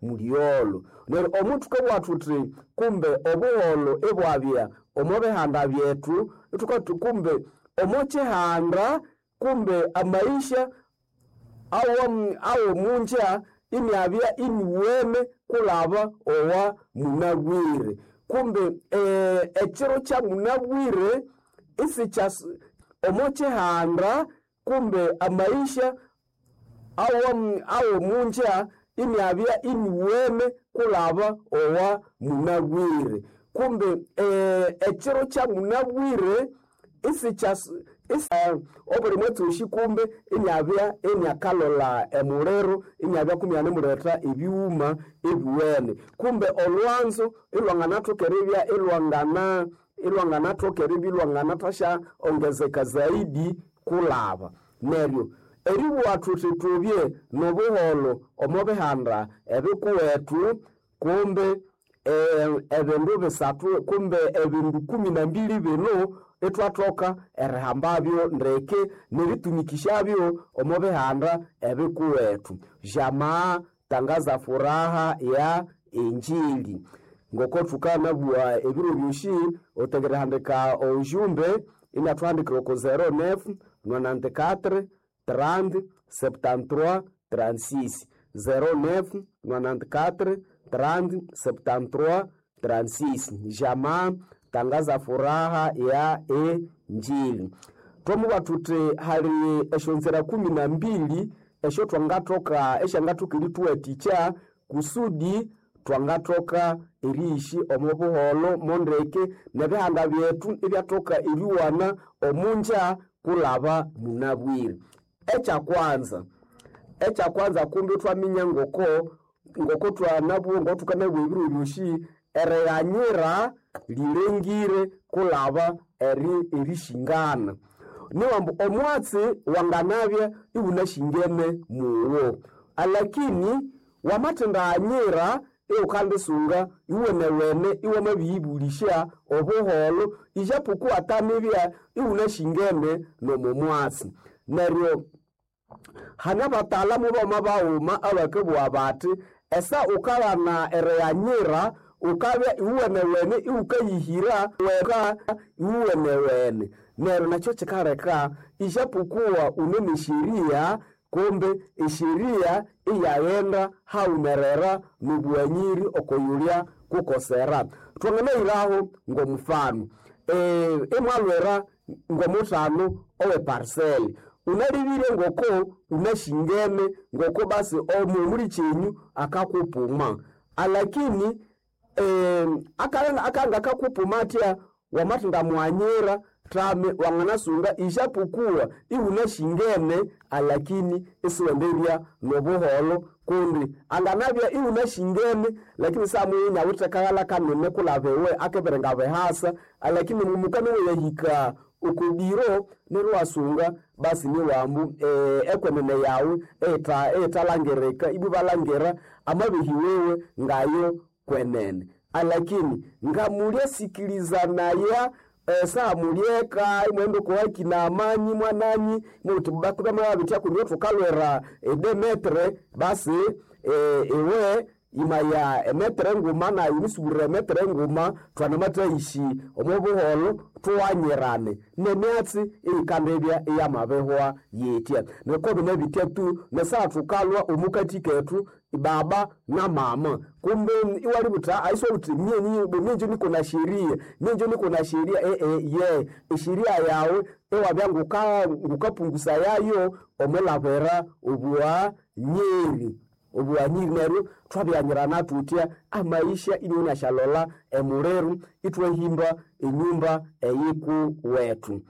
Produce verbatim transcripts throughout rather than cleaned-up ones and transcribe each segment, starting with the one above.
mulyolo. Neryo omuthuka bwathuthi kumbe obuholho ibwabya omo bihanda byethu, ithukathi kumbe omo kihanda kumbe amaisha awomunja iniabya iniwene kulaba owa munabwire. Kumbe ekiro kya munabwire isikya omo kihanda kumbe amaisha awomunja iniabya iniwene kulaba owa munabwire. Kumbe ekiro kya munabwire isikya obuli mwatsi kumbe iniabya iniakalolha emuliro iniabya kumyanimuletha ebighuma ebiwene. Kumbe olhwanzo ilwanganathoka eribya ilwangana ilwanganathoka eribya ilwanganathasya ongezeka zaidi kulaba. Neryo eribugha thuthi thubye nobuholho omo bihanda ebikuwethu kumbe ebindu bisathu kumbe ebindu kumi na mbili binu ithwathoka erihambabyo ndeke neritumikishyabyo omo bihanda ebikuwethu. Jamaa tangaza furaha ya injili. Ngoko thukanabugha ebiro byosi othengerihandika ojumbe inathuhandikira oko zero nef nonante-quatre trente septante-trois trente-six zero nef nonante-quatre trente septante-trois trente-six. Jamaa tangaza furaha ya injili. Twamubugha thuthi hali esyonzira kumi na mbili esyothwangathoka esyangathoka erithuwathikya kusudi twangathoka eriishi omo buholho mondeke nebihanda byethu ibyathoka eriwana omunja kulaba munabwire. Ekyakwanza, ekyakwanza kumbe ithwaminya ngoko ngoko thwanabugha ngokuthukanabugha ebiro byosi erighanyira lilengire kulaba eri erishingana. Niwambu omwatsi wanganabya iwunashingene mugho alakini wamathendaghanyira iwukandisunga iwenewene iwamabiyibulishya obuholho ijapokuwa atanibya iwunashingene nomo mwatsi. Neryo hane abatalamu bama baghuma abakabugha bathi esa wukaghana erighanyira wukabya iwuwenewene iwukayihira weka iwuwenewene. Neryo nakyo kikaleka ijapokuwa wune nesheria kumbe esheria iyaghenda haghumerera nobughanyiri okoyulya kukosera. Thwanganayiraho ngomufano imwalwira ngomuthano owe parcel unalibire ngoko unashingene ngoko basi omulikyenyu akakupuma alakini akanga akakupuma athya wamathendamughanyira thame wanganasunga ijapokuwa iwunashingene alakini isiwenderya nobuholho kundi anganabya iwunashingene lakini samuyo inawithe akaghalha kanene kulaba iwe akibiri bihasa alakini mumukani weyahika okubiro neryo iwasunga basi niwambu ekwenene yawu eyithalangirika ibwa ibalhangira amabehi wiwe ngayo kwenene. Alakini ngamulyasikilizanaya esaha mulyeka imwaghenda oko haki na amani mwananyi muthi bamababithya kundi thukalwira edemetre basi iwe imaya emetre nguma nayi nisubirira emetre nguma thwanamathaishi omo buholho thuwanyirane nemyatsi eyikandibya iyamabihwa yithya. Neryo binabithya tu nesaha thukalwa omukathi kethu baba na mama kumbe iwalibutha isiwawuthi mye niko na sheria mye niko na sheria ye esheria yawu iwabya ngukapungusayayo omwilabira obughanyiri obughanyiri. Neryo thwabyanyirana thuthya amaisha iniwunasyalolha emuliru ithwahimba enyumba eyikuwethu.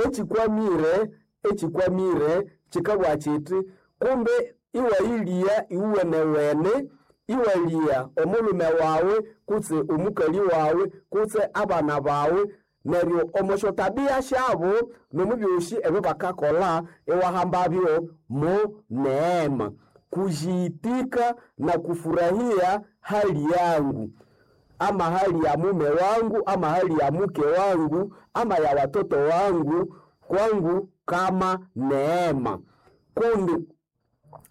Ekikwamire ekikwamire kikabugha kithi kumbe iwayilya iwuwenewene iwalya omulhume wawu kutse omukali wawu kutse abana bawu neryo omo syotabiya syabo nomubyosi ebyabakakolha iwahambabyo mo neema kujiitika na kufurahia hali yangu ama hali ya mume wangu ama hali ya mke wangu ama ya watoto wangu kwangu kama neema. Kundi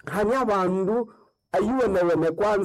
hanya bandu ayiwenewene kwanza.